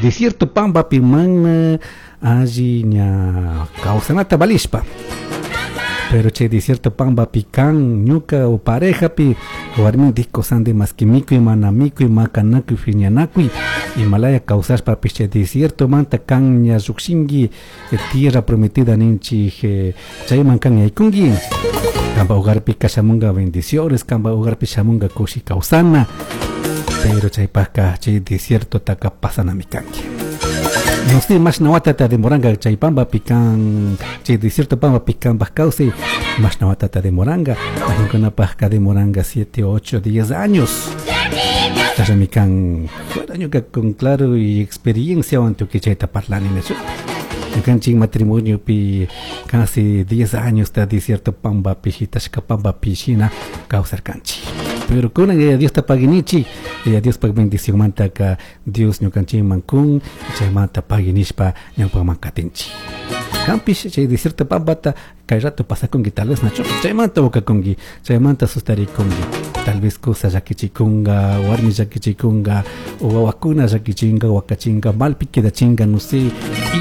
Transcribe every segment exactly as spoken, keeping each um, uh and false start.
Desierto pambapi mana alli ña kawsanata valishpa. Pero chay desierto pambapi kan ñuka o parejapi warmintik kusandi maski mikuy mana mikuy makanakuy phiñanakuy imalaya kawsashpapish chay desierto manta kan ña llukshinki tierra prometida ninchik chayman kan yaykunki kanpa hogarpi shamunga bendiciones kanpa hogarpi shamunga kushi kawsana pero chaypaka chay desierto taka pasanami kanki. No sé, mashna watata demoranga chay pambapi kan chay desierto pambapi kanpaj kawsay mashna watata demoranga mayqinkunapajka demoranga siete, ocho, diez años. Chashnami kan fuera ñuka con claro y experienciawan tukuy chayta parlani nachu. Ñukanchik matrimoniopi casi diez años ta desierto pambapi shitashka pambapi shina kawsarkanchik. Pero kunan Yaya Diosta paguinichik, Yaya Diospaj bendicionmantaka Dios ñukanchikman kun chaymanta paguinishpa ñawpaman katinchik. Kanpish chay desierto pampata kay rato pasakunki tal vez nachu chaymanta ukakunki chaymanta sustarikunki tal vez kusa llakichikunga warmi llakichikunga o wawakuna llakichinga wakachinga malpi quedachinga no sé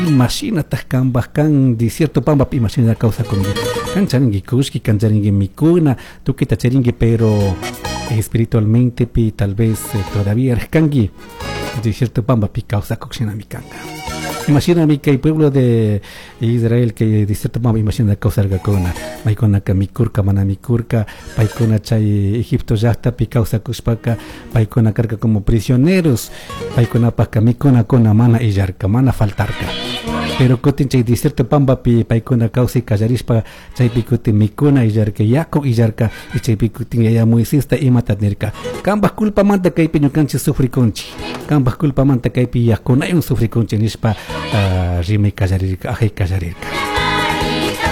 imashinataj kanpaj kan desierto pampapi imashina kawsakunki kan charinki kullki kan charinki mikuna tukuyta charinki pero espiritualmente pi tal vez eh, todavía kanki desierto pampapi kawsakuk shinami kanka. Imashinami kay pueblo de Israel que desierto pampa imashina kawsarkakuna maykunaka mikurka mana mikurka paykuna chay Egipto llaktapi kawsakushpaka paykuna karka como prisioneros paykunapajka mikunakuna mana illarka mana faltarka pero kutin chay desierto pampapi paykuna kawsay kallarishpa chaypi kutin mikuna illarka yaku illarka y chaypi kutin yaya Moisesta imata nirka kanpaj culpamanta kaypi ñukanchik sufrikunchik kanpaj culpamanta kaypi yakunaywan sufrikunchik nishpa uh, rimay kallarirka ajay kallarirka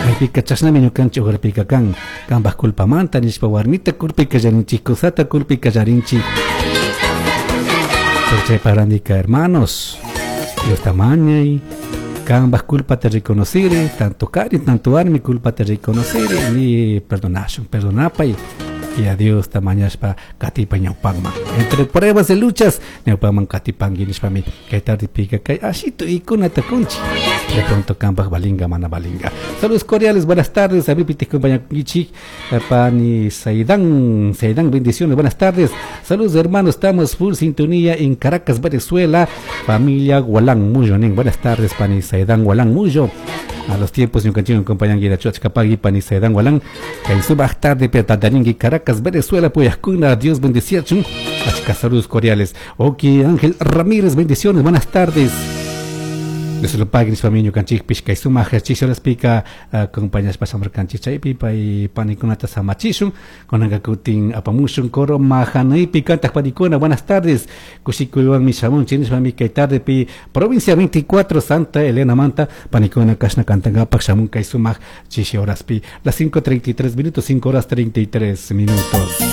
maypika chashnami ñukanchik hogarpika kan kanpaj culpamanta nishpa warmita culpay kallarinchik kusata culpay kallarinchik pero chaypa randika hermanos Diosta mañay kanpaj culpata reconociri tanto kari tanto warmi culpata reconociri ni perdonashun perdonapay y a Diosta mañashpa katipay ñawpakman entre pruebas y luchas ñawpakman katipanki nishpami kay tardepika kay ashitu ikunata kunchik de pronto kanpaj valinga mana valinga. Saludos cordiales, buenas tardes a mi compañero Pani Saidan Saidan, bendiciones, buenas tardes. Saludos hermanos, estamos full sintonía en Caracas, Venezuela, familia Gualán Muyo. Buenas tardes, Pani Saidan Gualán Muyo. A los tiempos ñukanchik compañero Chuachkapagui Pani Saidan Gualán kay sumaq tarde petataringi Caracas, Venezuela, puyajkuna, Dios bendeciachun. Achka saludos cordiales. Ok, Ángel Ramírez, bendiciones, buenas tardes. Dios lo pague nishpami ñukanchikpish kay sumaq chishoraspika acompañashpa shamarkanchik chaypi pay panikunata samachishun kunanka kutin apamushun coro majanaypi kantaq panikuna. Buenas tardes, kushikuywanmi shamunchik nishpami kay tardepi provincia veinticuatro Santa Elena manta panikuna kashna kantankapak shamun kay sumaq chishi horaspi las cinco treinta y tres minutos, cinco horas treinta y tres minutos.